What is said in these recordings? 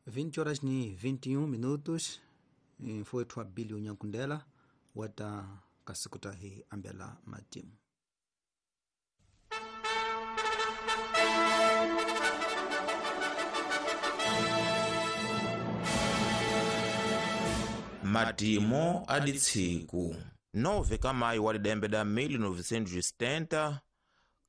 20 horas ni 21 minutos mfowethu Abilio Nyankundela wata kasikuta hi ambela matimu. Matimo aditsiku 9 ka mayu wa didembe da 1970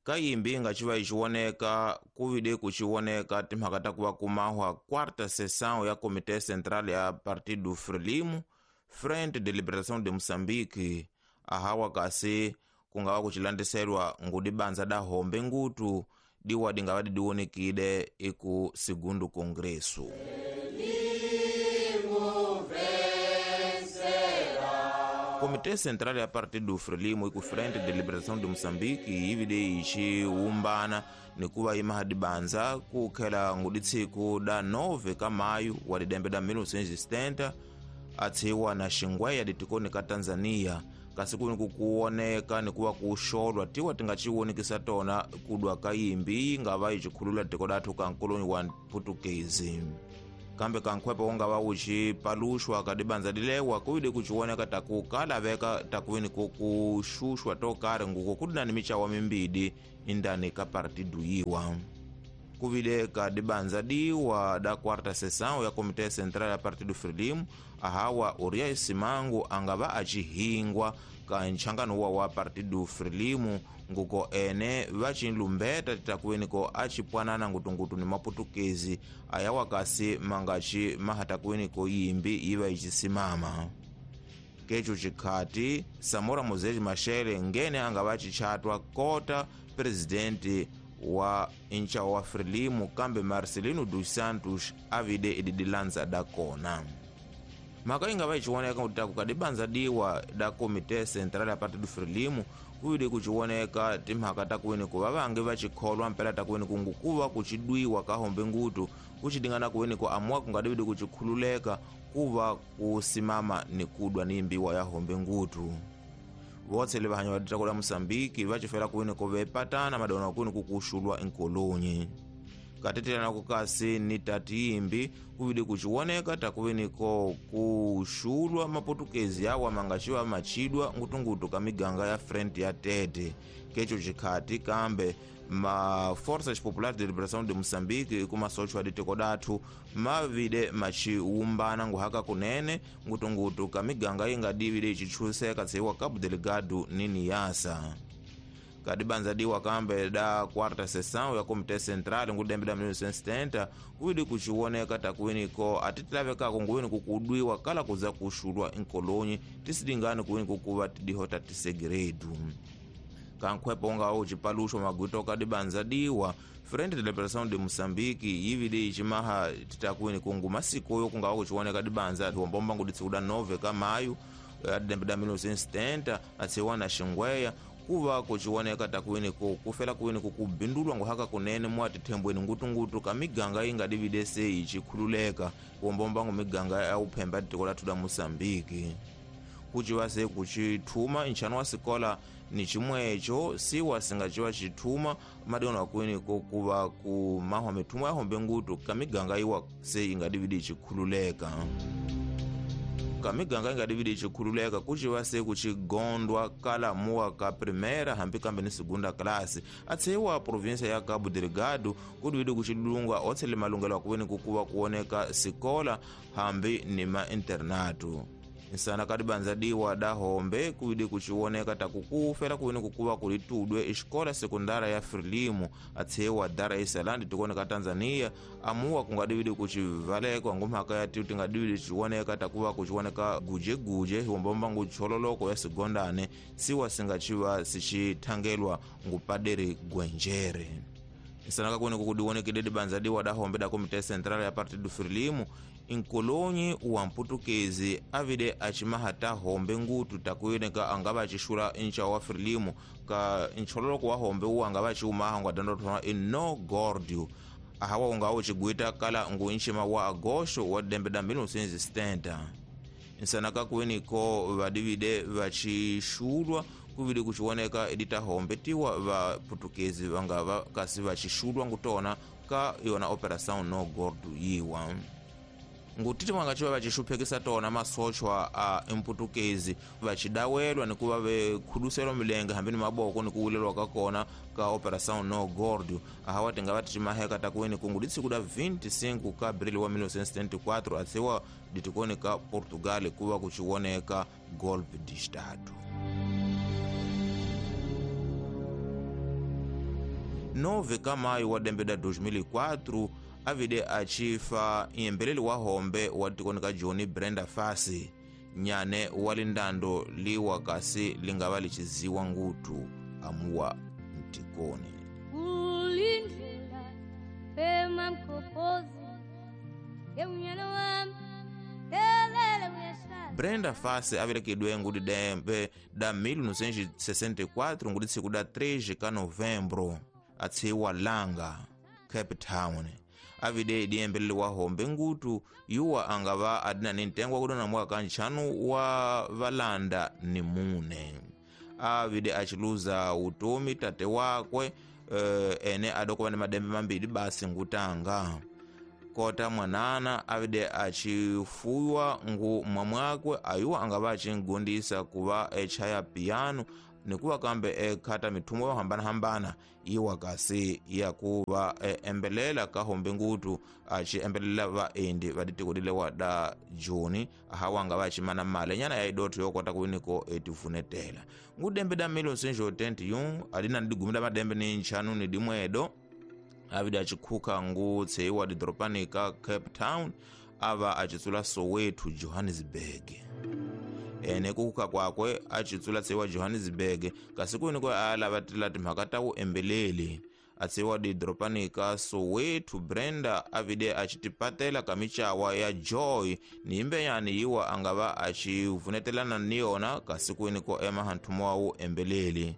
kayimbi nga civa iciwoneka kuvide kuciwoneka timhaka ta kuva kumahwa quarta sessão ya Comité Central ya Partido Frelimo, Frente de Liberação de Moçambique, ahawa kasi kungava kucilandiselwa ngudi banza da hombe ngutu diwa dingava didiwonekile iku segundo congresso. Comité Central ya Partido Frelimo iku Frente de Liberação de Moçambique yivile iciwumbana nikuva imaha dibanza kukhela nguditsiku da 9 ka mayu wa didembe da 1970 atsiwa na xingweya ditikoni ka Tanzania, kasi kuni kukuwoneka nikuva kuxolwa tiwa tingaciwonekisa tona kudwa ka yimbi yi nga va yicikhulula tiko dathu ka nkoloni wa Putukezi. Kambe kankhwepo ungava ucipaluxwa ka dibanza dilewa kuvile kuciwoneka taku kalaveka takuweni kukuxuxwa to karhi nguko kudinani micawa mimbidi indani ka partidu yiwa. Kuvile ka dibanza diwa da quarta sessão ya Comité Central ya Partido Frelimo, ahawa Urias Simango angava acihingwa ka nchangano wa Partido Frelimo nguko ene vacilumbeta titakuweniko acipwanana ngutungutu ni maputukezi ayawa kasi mangaci mahatakuweniko yimbi yiva icisimama. Keco cikhati Samora Mozeli Machel ngene angava acichatwa kota presidente wa ncawa wa Frelimo, kambe Marcelino dos Santos avide ididilanza da kona. Mhaka yi nga va iciwoneka kutaku ka dibanza diwa da Comité Central ya Partido Frelimo kuvile kuciwoneka timhaka ta kuweni ku va vange va cikholwa mpela ta kuweni ku ngukuva kucidwiwa ka hombe ngutu kucidingana kuweni ku amuwa kungadividi kucikhululeka kuva kusimama ni kudwa ni imbiwa ya hombe ngutu. Votsele vahanya va ditako la Moçambique va cifela kuweni ku vepatana madona kuweni kukuxulwa enkolonyi. Katetelana kukasi ni tati yimbi kuvile kuciwoneka takuweniko kuxulwa maputukezi yawa mangaciwa macidwa ngutungutu ka miganga ya Frente ya Tete. Keco cikhati kambe ma Forças Populares de Liberação de Moçambique kumasochwa ditiko dathu mavile maciwumbana nguhaka kunene ngutungutu ka miganga yingadivile icichuseka tsiwa Cabo Delgado ni Niassa. Kadibanza diwa kambe da quarta sessão ya Comité Central ngudembe da 1970 kuvili kuciwoneka takuweniko atitilavekako nguweni kukudwiwa kala kuza kuxulwa enkolonyi tisidingani kuweni kukuva tidihota tisegeredu. Kankhwepo unga ucipaluxwa magwito kadibanza diwa Frente de Liberação de Moçambique yivile icimaha titakuweni kungu masikoyo kungawa kuciwoneka dibanza tiwombomba nguditsikuda 9 ka mayu adidembe da 1970 atsiwa na xingweya kuva kuciwoneka takuweni kufela kuweni kukubindulwa nguhaka kunene mwatithembweni ngutungutu ka miganga yingadivile se icikhululeka kuombombangu miganga ya uphemba tiko lathu la Moçambique. Kuciva se kucithuma nchano wa sikola ni cimweco siwa singaciwa cithuma madiono akuweni kuva kumahwa mithumo ya hombe ngutu ka miganga yiwa se ingadivile icikhululeka. Ka miganga ingadivile icikhululeka kuciva se kucigondwa kala muwa ka primeira hambi kambe ni segunda classe atsiwa província ya Cabo Delgado kudivile kucilunga otsele malungelo akuweni kukuva kuwoneka sikola hambi ni ma internato. Nsana kadibanza diwa da hombe kuvile kuciwoneka takukufela kuweni kukuva kulitudwe exikola sekundara ya Frelimo atsiwa Dar es Salaam tikoneka Tanzania amuwa kungadivile kucivalekwa ngumhaka ya tiu tingadivile ciwoneka takuva kuciwoneka gujeguje hiwombomba nguchololoko ya segondane siwa singaciva sicithangelwa ngupadere Gwenjere. Nsanaka kuweni kukudiwonekile dibanza diwa da hombe da Comité Central ya Partido Frelimo nkolonyi wa mputukezi avile acimaha ta hombe ngutu takuyeneka angava acixula ncawa wa Frelimo ka nchololoko wa hombe uwu angava aciumaha ngwadandothona ino gordio ahawa ungawa ucigwita kala ngu nxima wa agosto wa dembe da 1970. Nsanaka kuweniko vadivile vacixulwa kuvile kuciwoneka edita hombe tiwa va putukezi vangava kasi vacixulwa ngutona ka yona Operação No Gordo yiwa. Ngutiti vangachiva vachixuphekisa tona masochwa a emputukezi vachidawelwa ni kuva vekhuduselwa milenge hambi ni maboko ni kuwulelwa ka kona ka Operação No Gordo. Ahawa tingava tichimaheka takuweni kungu ditsiku da 25 ka abril wa 1974 atsiwa ditikoni ka Portugal kuva kuchioneka golpe de Estado. 9 ka maio wa dembe da 2004 avide achifa iyembeleli wa hombe wa tikoni ka Joni Brenda Fassie nyane wa lindando liwa kasi lingava lichiziwa ngutu amuwa mtikoni. Ulindlela pemamkopozi yeunyana wami. Brenda Fassie avelekidwe ngudi dembe da 1964 ngudi tsiku da 3 ka novembro atsiwa Langa, Cape Town. Avide idiyembeleli wa hombe ngutu yuwa angava adina ni ntengo wakudona mwaka nchanu wa valanda ni mune. Avide achiluza utomi tate wakwe ene adokova ni madembe mambili basi ngutanga. Kota mwanana avide achifuywa ngu mwamwakwe ayuwa angava achingundisa kuva echaya piano nikuva kambe ekhata mithumo yo hambana-hambana iwa kasi yakuva embelela ka hombe ngutu achiembelela vaendi va ditiko dilewa da Joni ahawa anga vachimana mali nyana ya idotho yokota kuwiniko etivunetela. Ngudembe da 1981 adina ni digumi da madembe ni nchanu ni dimwedo avide achikhuka ngutseiwa didoropani ka Cape Town ava achitsula Soweto Johannesburg. Ene kuka kwakwe achitsula tseiwa Johannesburg kasi kuwiniko alavatela timhaka ta vuembeleli atsiwa didoropani ka Soweto. Brenda avide achitipatela ka michawa ya Joy ni imbenyani yiwa angava achivunetelana ni yona kasi kuwiniko emaha nthumo wa vuembeleli.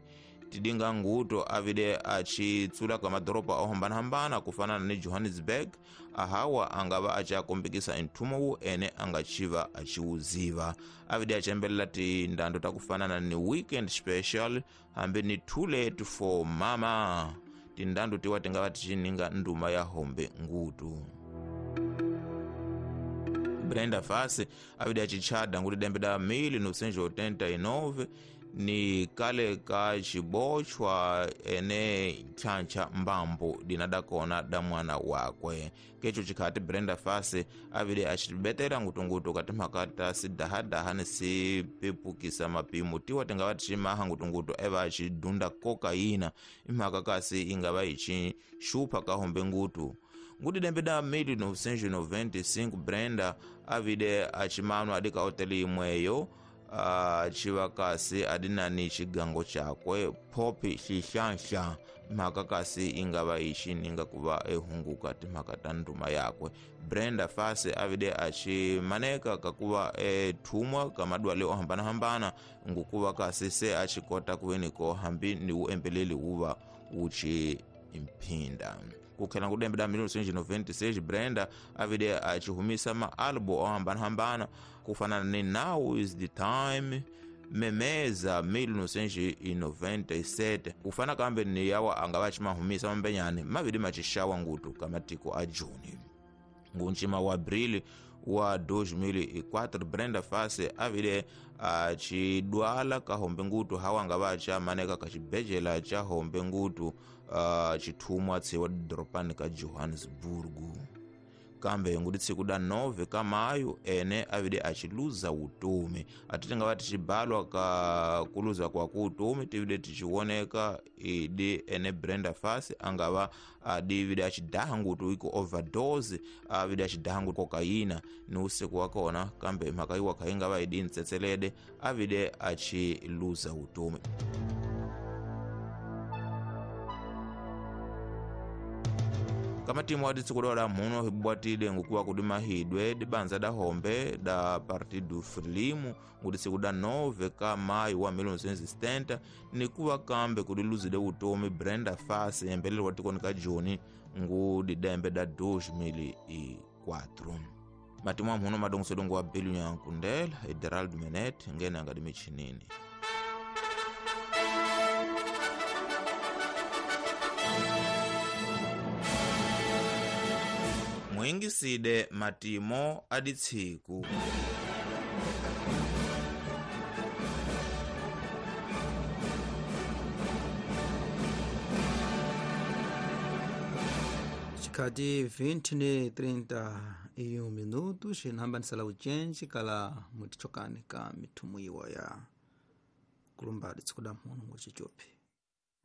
Tidinga nguto avide achitsula ka madoropa ohambana-hambana kufanana ni Johannesburg ahawa angava achiakombekisa nthumo wu ene angachiva achiwuziva. Avide achembelela tindando takufanana ni Weekend Special hambi ni Too Late for Mama. Tindando tiwa tingava tichininga nduma ya hombe ngutu. Brenda Fassie avide achichada nguti dembe da 1989 ni kale ka chibochwa ene nchancha mbambo dinada kona da mwana wakwe. Kecho chikhati Brenda Fassie avide achibetela ngutungutu katimhaka ta sidahadaha ni sipepukisa mapimo tiwa tingava tichimaha ngutungutu eva achidunda kokaina imhaka kasi ingava ichixupha ka hombe ngutu. Nguti dembe da 1995 Brenda avide achimanwa adika hoteli imweyo achiva kasi adinani chigango chakwe Poppy Xihlanhla mhaka kasi ingava ichininga kuva ehunguka timhaka ta nduma yakwe. Brenda Fassie avide achimaneka kakuva ethumwa ka madwale ohambana-hambana ngukuva kasi se achikota kuweniko hambi ni uembeleli wuva wuchi mphinda. Kukhela ngudembe da 1996 Brenda avide achihumisa maalbu ohambana-hambana kufanana ni Now Is The Time, Memeza 1997 kufana kambe ni yawa angava achimahumisa mambenyani mavidi machishawa ngutu kamatiko a Juni. Ngunchima wa abrili wa 2004 Brenda Fassie avide achidwala ka hombe ngutu hawa angava achamaneka kachibhejela cha hombe ngutu chithumwa tsiwa didoropani ka Johannesburg. Kambe ngudi tsiku da 9 ka mayu ene avide achiluza utomi. Ati tingava tichibalwa ka kuluza kwa kuutomi tivide tichioneka idi ene Brenda Fassie angava adivide achidaha ngutu iko overdose avide achidaha ngutu kokaina ni usiku wakona kambe mhaka iwa khaingava idi ntsetselede avide achiluza utomi. Kamatimu aditsikudola muno hibwatile ngukuwa kudimahidwe dibanza da hombe da Partido Frelimo nguditsikuda 9 ka maio wa 1970 nikuwa kambe kudiluzile utomi Brenda Fassie embeleli wa tikoni ka Joni ngudidembe da 2004. Matimu amuno madongosedongo wa Belu Nyankundela Gerald Menet ngene angadimichinini. Mwingiside matimo aditsiku. Chikhati 20 ne 31 minutos inhambanisala ucenji kala mutichokani ka mithumu iwa ya kulumbadi tsikuda mhuno muchichopi.